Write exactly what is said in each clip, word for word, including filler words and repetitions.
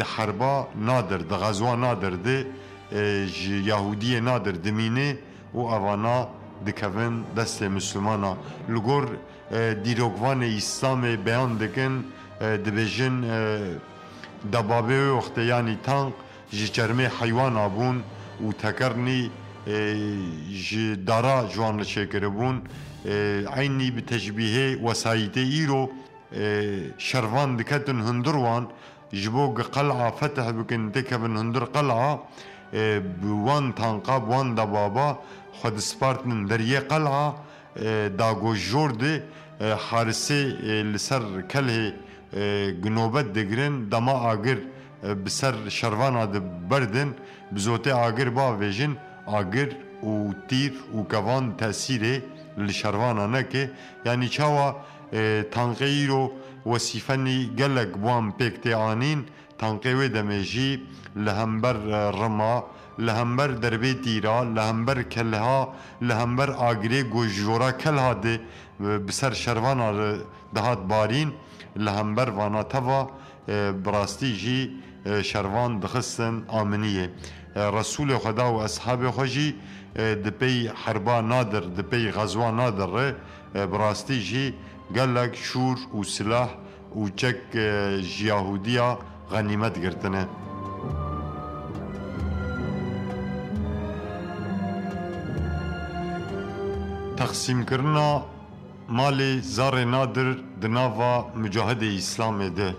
Di herba Nadir, di xezwa Nadir de, e, ji Yahûdiyê Nadir dimîne û evana dikevin destê Mislimana. Li gor, e, dîrokvanê Îslamê beyan dikin, e, dibêjin, e, debabê wê wextê, yanî tank, ji çermê heywana bûn û tekernî, e, ji dara ji wan re çêkiribûn. E, eynî bi teşbîhê wesayîtê îro, e, şervan diketin hundir wan, ji bo ku qel'a fetih bikin, têkevin hundir qel'a, e, bi wan tanqa, bi wan debaba xwe dispartinin deriyê qel'a, e, da ku jor de, e, harisê, e, li ser kelhê, e, ku nobet digirin, dema agir, e, bi ser şervana de berdin, bi zotê agir bavêjin, agir û tîr û kevan tesîrê li şervana neke. Yanî çawa, e, tanqê îro wesîfenî gelek bi wan pêk tê anîn, tanqê wê demê jî li hember, e, rima, li hember derbê tîra, li hember kelha, li hember agirê ku ji jora kelha de, e, bi ser şervana re dihat barîn, li hember vana teva, e, bi rastî jî, e, şervan dixistin aminiyê. E, Resûlê Xweda û eshabê xwe jî, e, di pey herba Nadir, di pey xezwa Nadir re, e, bi rastî jî gelek şûr û silah û çek, e, ji Yahûdiya xenîmet girtine. Teqsîmkirina malê Zarê Nadir di nava mucahidê Îslamê de.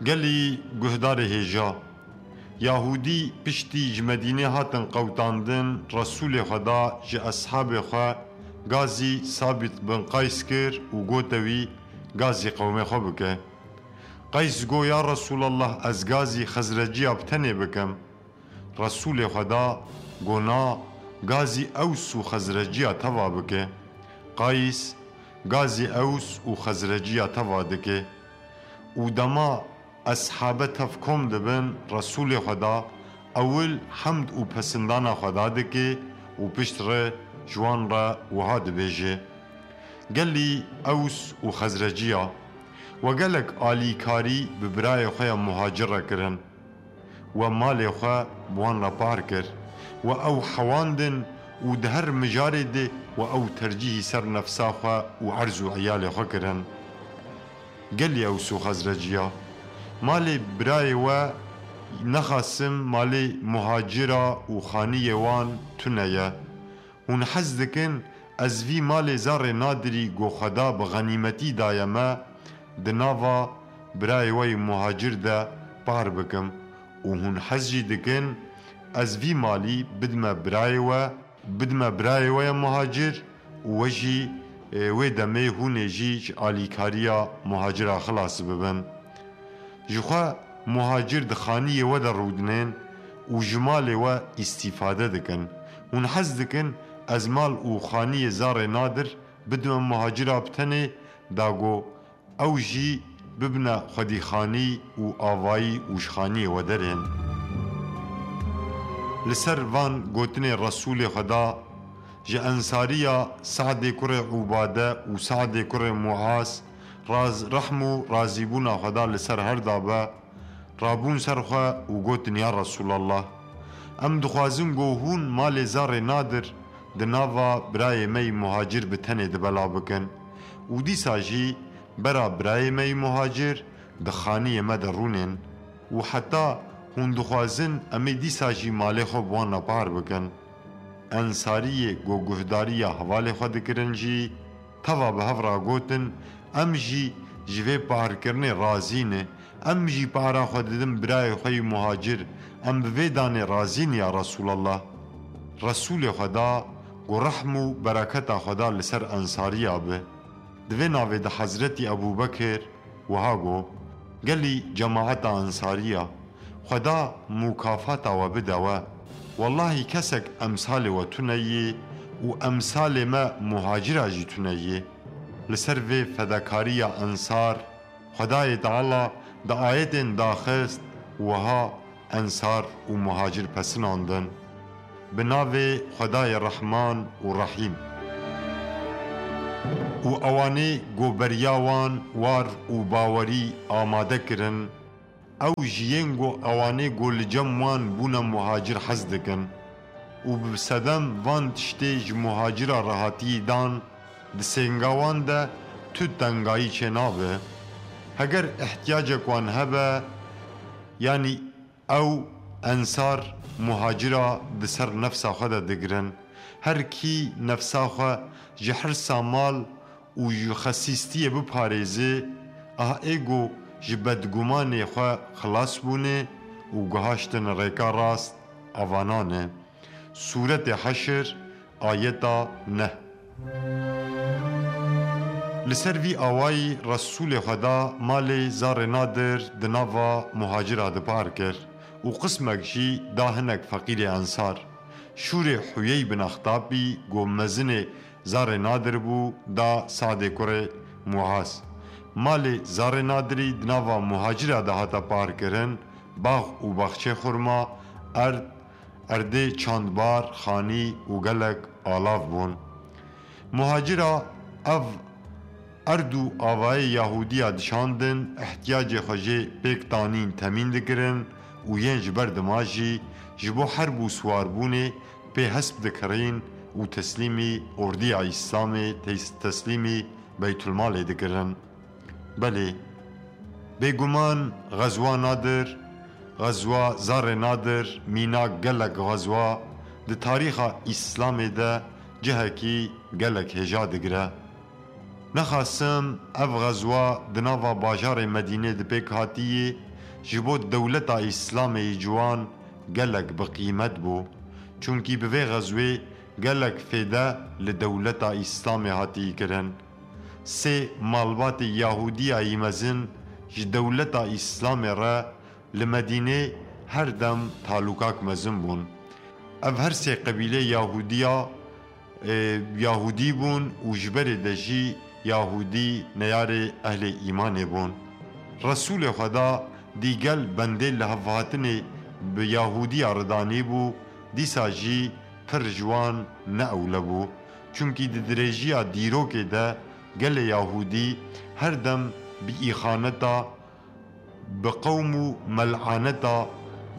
Gelî guhdarê hêja, Yahûdî piştî ji Medînê hatin qewtandin, Resûlê Xweda ji eshabê xwe gazî Sabit bin Qays kir û gote wî, gazî qewmê xwe bike. Qays go, Ya Resûlallah, ez gazî Xezreciya bi tenê bikim. Resûlê Xweda go, Na, gazî Ews û Xezreciya teva bike. Qays gazî Ews û Xezreciya teva dike. Û dema eshabe tev kom dibin, Resûlê Xweda ewil hemd û pesindana Xweda dike û pişt re ji wan re wiha dibêje, Gelî Ews û Xezreciya, we gelek alîkarî bi birayê xwe ya muhacir re kirin. We malê xwe bi wan re par kir. We ew hewandin û di her mijarê de we ew tercîhî ser nefsa xwe û erz û eyalê xwe kirin. Gelî Ews û Xezreciya, malê birayê we nexasim malê muhacira û xaniyê wan tune ye. Hûn hez dikin ez vî malê Zarê Nadirî ku Xweda bi xenîmetî daye me, di nava birayê we yê muhacir de par bikim û hûn hez jî dikin ez vî malî bidime birayê we, bidime birayê we ya muhacir û we jî, e, wê demê hûn ê jî ji alîkariya muhacira xilas bibin. Jixwe muhacir di xaniyê we de rûdinên û ji malê we îstîfade dikin. Hûn hez dikin ez mal û xaniyê Zarê Nadir bidime muhacira bi tenê, da ku ew jî bibine xwedîxanî û avayî û ji xaniyê we derên. Li ser van gotinê Resûlê Xweda, ji ensariya Sadê kurê Ubade û Sadê kurê Muaz, raz-, rehm û razîbûna Xweda li ser her da be, rabûn ser xwe û gotin, Ya Resûlallah, em dixwazin ku hûn malê Zarê Nadir di nava birayê me yî muhacir bi tenê di bela bikin û dîsa jî bera birayê me yî muhacir di xaniyê me de rûnên û heta hûn dixwazin em ê dîsa jî malê xwe bi wan re par bikin. Ensariyê ku guhdariya hevalê xwe dikirin jî teva bi hev re gotin, Em jî ji vê parkirinê razî ne. Em jî para xwe didin birayê xwe yî muhacir. Em bi vê danê razî ne ya Resûlallah. Resûlê Xweda ku rehm û bereketa Xweda li ser ensariya be. Di vê navê de Hezretî Ebû Bekir wiha got, Gelî cemaeta ensariya, Xweda mukafata we bide we. Wellahî kesek emsalê we tune yê û emsalê me muhacira jî tune yê. Li ser vê fedakariya ensar, Xwedayê Teala di ayetên daxist wiha ensar û muhacir pesinandin. Bi navê Xwedayê Rehman û Rehîm. Û ewanê ku beriya wan war û bawerî amade kirin, Ew ji yên ku ewanê ku li cem wan bûne muhacir hez dikin û bi sedem van tiştê ji muhacira re hatiyî dan, di sênga wan de tu tengayî çênabe. Heger ihtiyacek wan hebe, yanî ew ensar muhacira di ser nefsa xwe de digirin. Her kî nefsa xwe ji hirsa mal û ji xesîstiyê biparêze, ah ê ku ji bedgumanê xwe xilas bûne û guhaştin rêka rast, avanan e. Sûretê Heşr, ayeta neh. Li ser vî awayî Resûlê Xweda malê zarê Nadir di nava muhacira de par kir û qismek jî da hinek feqîrê ensar. Şûrê Huyey bin Extabî ku mezinê zarê Nadir bû, da Sadê kurê Muaz. Malê zarê Nadirî di nava muhacira de hate parkirin, bax û baxçê xurma, erd, erdê çandbar, xanî û gelek alav bûn. Muhacira ev erd û avayê Yahûdiya dişandin, ihtiyacê xwe jê pêk tanîn temîn dikirin û yên ji ber dima jî ji bo herb û siwarbûnê pê hesp dikirîn û teslîmî ordiya Îslamê, tes-, teslîmî Beytulmalê dikirin. Belê, bêguman Xezwa Nadir, Xezwa Zarê Nadir, mînak gelek xezwa di tarîxa Îslamê de cihekî gelek hêja digire. Nexasim ev xezwa di nava bajarê Medînê di pêk hatiyê ji bo dewleta Îslamê yî ciwan gelek bi qîmet bû. Çunkî bi vê xezwê gelek fêde li dewleta Îslamê hatiyî kirin. Sê malbatê Yahûdiya yî mezin ji dewleta Îslamê re li Medînê her dem talûkak mezin bûn. Ev her sê qebîlê Yahûdiya, e, Yahûdî bûn û ji berê de jî Yahûdî neyarê ehlê îmanê bûn. Resûlê Xweda dîgel bendê lihevhatinê bi Yahûdiya re danîbû, dîsa jî pir ji wan ne ewle bû. Çunkî di dirêjiya dîrokê de gelê Yahûdî her dem bi îxaneta, bi qewm û mel'aneta,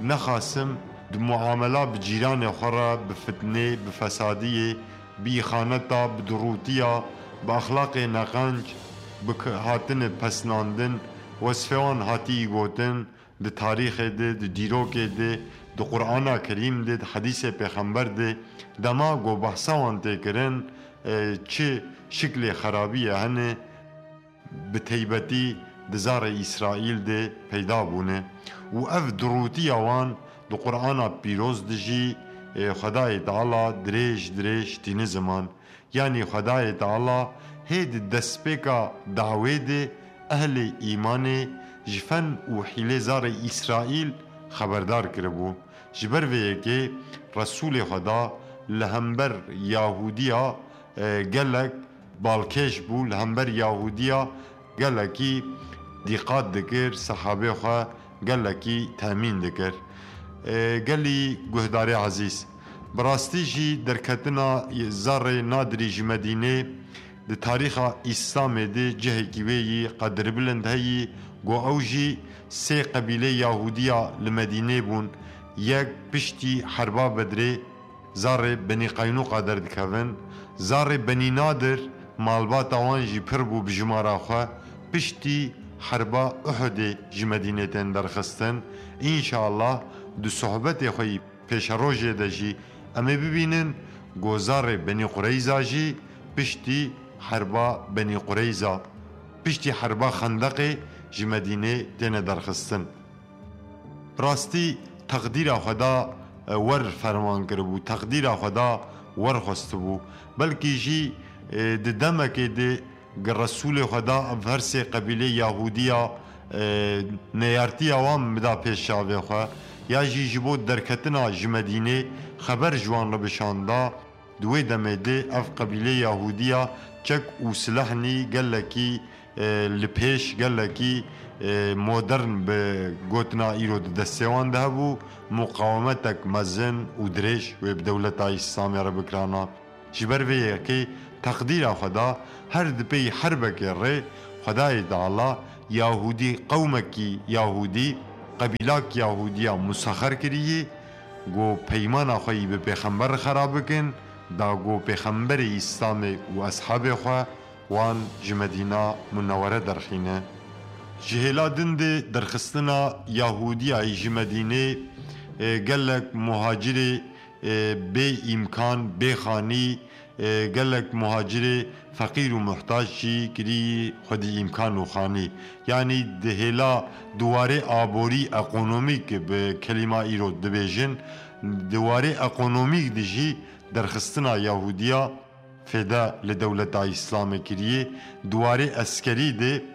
nexasim di muamela bi cîranê xwe re bi fitnê, bi fesadiyê, bi îxaneta, bi dirûtiya, bi exlaqê neqenc, bi k-, hatine pesnandin, wesfê wan hatiyî gotin, di tarîxê de, di dîrokê de, di Qur'ana Kerîm de, di hedîsê Pêxember de, dema ku behsa wan tê kirin, e, çi şiklê xerabiyê hene, bi teybetî di zarê Îsraîl de peyda bûne û ev dirûtiya wan di Qur'ana Pîroz de jî, e, Xwedayê Teala dirêj dirêj tîne ziman. Yanî Xwedayê Teala hê di destpêka dawê de ehlê îmanê ji fen û hîlê zarê Îsraîl xeberdar kiribû. Ji ber vê yekê Resûlê Xweda li hember Yahûdiya, e, gelek balkêş bû, li hember Yahûdiya gelekî dîqat dikir, sehabê xwe gelekî temîn dikir. E, gelî guhdarê ezîz, bi rastî jî derketina zarê Nadirî ji Medînê di tarîxa Îslamê de cihekî wê yî qedirbilind heyî, ku ew jî sê qebîlê Yahûdiya li Medînê bûn, yek piştî herba Bedrê, zarê Benî Qeynûqa derdikevin. Zarê Benî Nadir, malbata wan jî pir bû bi jimara xwe, piştî herba Uhudê ji Medînê tên derxistin. Înşallah di sohbetê xwe yî pêşerojê de jî em ê bibînin ku zarê Benî Qureyza jî piştî herba Benî Qureyza, piştî herba Xendeqê ji Medînê têne derxistin. Rastî teqdîra Xweda, e, wer ferman kiribû, teqdîra Xweda wer xwestibû. Belkî jî, e, di demekê de gi Resûlê Xweda ev her sê qebîlê Yahûdiya, e, neyartiya wan bida pêş çavê xwe, ya jî ji bo derketina ji Medînê xeber ji wan re bişanda. Di wê demê de ev qebîlê Yahûdiya çek û silehnî gelekî, e, li pêş, gelekî, e, modern bi gotina îro di destê wan de hebû, muqawemetek mezin û dirêj wê bi dewleta Îslamê re bikirana. Ji ber vê yekê teqdîra Xweda her di pey herbekê rê Xwedayê Teala Yahûdî, qewmekî Yahûdî qebîlak Yahûdiya musexer kiriyê, ku peymana xwe yî bi pêxember re xera bikin, da ku pêxemberê Îslamê û eshabê xwe wan ji Medîna Munewere derxîne. Ji hêla din de derxistina Yahûdiyayî ji Medînê, e, gelek muhacirê, e, bê îmkan, bê xanî, e, gelek muhacirê feqîr û muhtac jî kirî xwedî îmkan û xanî. Yanî di hêla di warê aborî, ekonomîk bi kelîma îro dibêjin, di warê ekonomîk de jî derxistina Yahûdiya fêde li dewleta Îslamê kiriyê, di warê eskerî de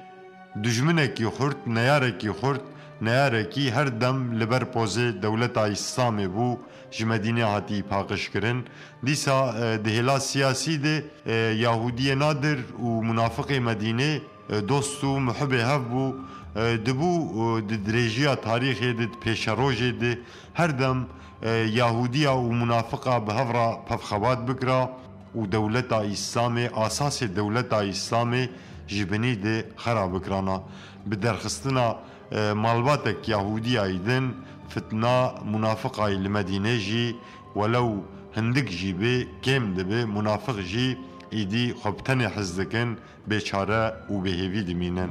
dijminekî xurt, neyarekî xurt, neyarekî her dem li ber pozê dewleta Îslamê bû, ji Medînê hatî paqij kirin. Dîsa, e, di hêla siyasî de, e, Yahûdiyê nadir û munafiqê Medînê, e, dost û muhibê hev bû. E, dibû, e, di dirêjiya tarîxê de, di pêşerojê de her dem, e, Yahûdiya û munafiqa bi hev re pevxebat bikira û dewleta Îslamê, asasê dewleta Îslamê ji binî de xera bikirana. Bi derxistina, e, malbatek Yahûdiyayî din, fitna munafiqayî li Medînê jî, welew hindik jî bê, kêm dibe, munafiq jî îdî xwe bi tenê hez dikin, bêçare û bêhêvî dimînin.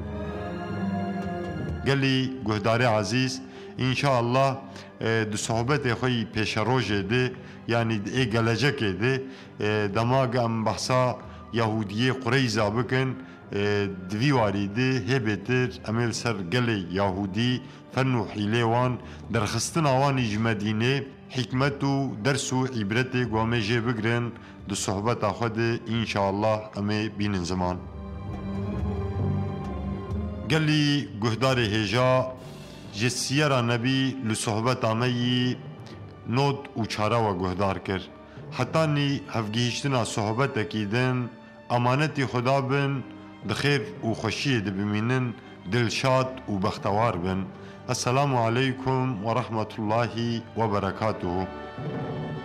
Gelî guhdarê ezîz, înşaallah, e, di sohbetê xwe yî pêşerojê de, yanî di ê gelecekê de, e, dema ge em behsa Yahûdiyê Qureyza bikin, e, di vî warî de hê bêtir em ê li ser gelê Yahûdî, fen û hîlê wan, derxistina wan î ji Medînê, hikmet û ders û îbretê ku em ê jê bigrin, di sohbeta xwe de înşaallah em ê bînin ziman. Gelî guhdarê hêja, ji Siyera Nebî li sohbeta me yî not û çare we guhdar kir. Hetanî hevgihîştina sohbetekî din, emanetî Xuda bin, di xêr û xweşiyê de bimînin, dilşad û bextewar bin. Esselamu aleykum ve rahmetullahi ve berekatuhu.